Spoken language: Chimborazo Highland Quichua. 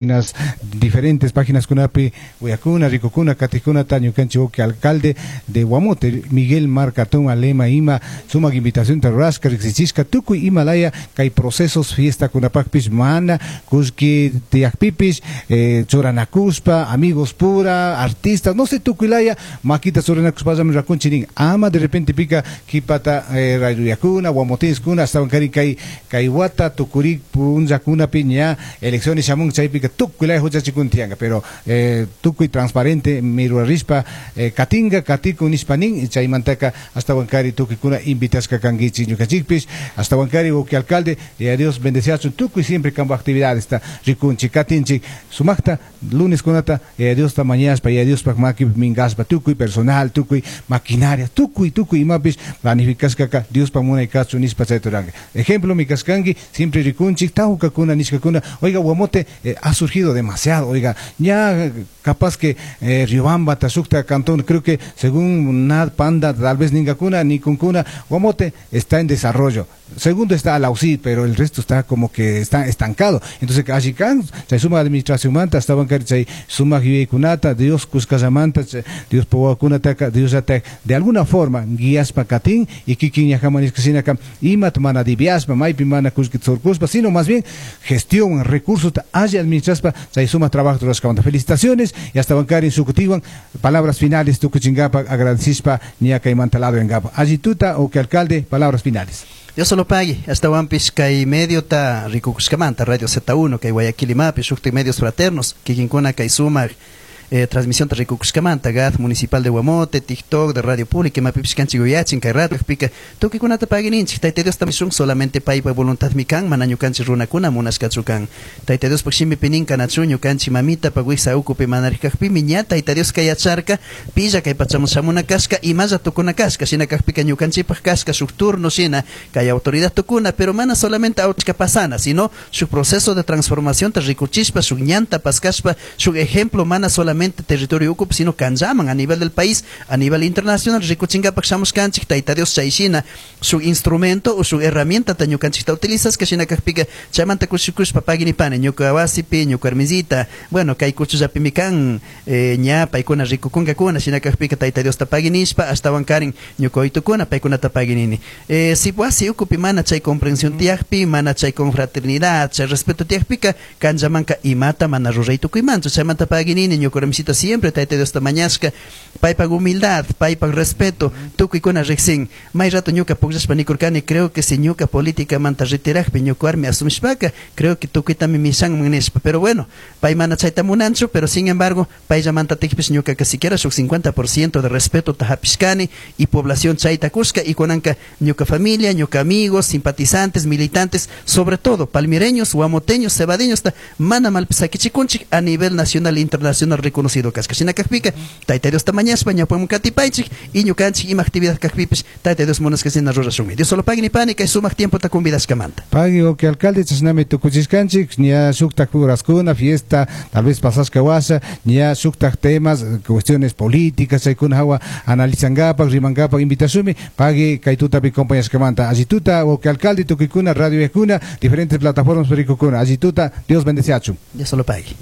Páginas, diferentes páginas kunapi uyakuna, rikukuna, katikkunata ñukanchik uki alcalde de Guamote, Miguel Marcatón Alema ima sumak invitación rurashka riksichishka tukuy imalaya kay procesos fiesta kunapakpish mana kullki tiyakpipish churanakushpa amigos pura artistas no sé tukuylaya makita churanakushpallami rakunchik nin ama de repente pika kipata rayuyakuna guamotenskuna ashtawankari kay kay wata tukurik punllakunapi ña elecciones shamun chaypika tukuylaya huchachikun tiyanka pero tukuy transparente mirurarishpa katinka katikun nishpa nin chaymantaka ashtawankari tukuykuna invitashka kankichik ñukanchikpish ashtawankari uki alcalde y a Dios bendeciachun tukuy siempre kampa actividades rikunchik katinchik sumakta lunes kunata y a Diosta mañashpa y a Diospak makipi minkashpa tukuy personal tukuy maquinaria tukuy tukuy imapish planificashkaka Diospak munay kachun nishpa chayta ruranka ejemplo mi kashkanki siempre rikunchik tawkakuna nishkakuna oiga Guamote ha surgido demasiado oiga ya capaz que Riobamba shukta cantón creo que según Nad Panda tal vez ninkakuna nikunkuna Guamote está en desarrollo. Segundo está Alausí, pero el resto está como que está estancado. Entonces, alli kan, chay suma administración manta, estaban chay suma yuyaykunata, Dios kushkallamanta, Dios pawakunataka, Dios llatak, de alguna forma guiaspa katin y kikin ñajaman nishka imat mana diviaspa, maypi mana kullki tsurkushpa, sino más bien gestión, recursos, alli administraspa, chay suma trabajo rurashkamanta. Felicitaciones y hasta bancari sukutiwan, palabras finales tukuchinkapa, agradecishpa, ña kaymanta lado engapa. Alli tuta o que alcalde, palabras finales. Dios solo pague, hasta wampis kay medio ta rikukushkamanta, Radio Z1, kay Guayaquil imapi, shukti medios fraternos, kikinkuna kay sumak, transmisión ta rikukushkamanta, GAD Municipal de Guamote, TikTok, de Radio Pública, imapipish kanchik uyachin, kay rato, pika, tukikunata pague ninchik, Tayta Dios tamishun, solamente paypa voluntad mi kan, mana ñukanchik runakuna munashkachu kan. Tayta Dios pak shimipi nin kanachu, ñukanchik mamita pa wiksa ukupi manarikakpimi, ña Tayta Dios kay yacharka, pilla kay pachamun shamuna kashka, imalla tukuna kashka, shina kakpika ñukanchikpak kashka, shuk turno shina, kay autoridad tukuna, pero mana solamente auchka pasana, sino su proceso de transformación ta rikuchishpa, shuk ñanta paskashpa, shuk ejemplo mana solamente territorio ukupi, sino kanllaman a nivel del país, a nivel internacional, rikuchinkapak shamushkanchik, Tayta Dios chay shina, su instrumento o su herramienta ta ñukanchikta utilizas, que shina kakpika, chaymanta kushikushpa paginipani, ñuka wasipi, ñuka hermisita, bueno, kay kuchullapimi kan, ña paykuna rikukunkakuna, shina kakpika Tayta Diosta paginishpa, ashtawan karin ñuka oytukuna, paykunata paginini. Si wasi ukupi mana chay comprensión tiyakpi, mana chay confraternidad, chay respeto tiyakpika, kanllamanka imata mana ruray tukuymanchu, chaymanta paginini, ñuka hermisita siempre Tayta Diosta mañashka, paypak humildad, paypak respeto, tukuykuna riksin. May rato ñuka pukllashpa nikurkani, creo que si ñuka políticamanta retirakpi ñuka warmi asumishpaka, creo que tukuytami mishanman nishpa, pero bueno, pay mana chayta munanchu, pero sin embargo, payllamanta tikpish ñukaka siquiera shuk 50% de respeto ta hapishkani y población chayta kushka, y kunanka ñuka familia, ñuka amigos, simpatizantes, militantes, sobre todo palmireños, guamoteños, cebadeños, ta mana malpisakichikunchik a nivel nacional e internacional reconocido kashka. Shina kakpika, Tayta Diosta mañashpa ñawpaman katipaychik y ñukanchik ima actividad kakpipish Tayta Dios munashka shina rurashunmi. Dios solo pagui ni pani kay sumak tiempo ta convidashkamanta. Pagui o que alcalde chashnami tukuchishkanchik, ña shuktak uraskuna, fiesta, tal vez pasashka washa, ña shuktak temas, cuestiones políticas, chaykuna hawa analizangapak, rimangapak, invitashunmi, pagui kay tutapi compañashkamanta. Alli tuta o que alcalde tukuykuna, radio yakuna, diferentes plataformas perikukuna. Alli tuta, Dios bendeciachun. Dios solo pagui.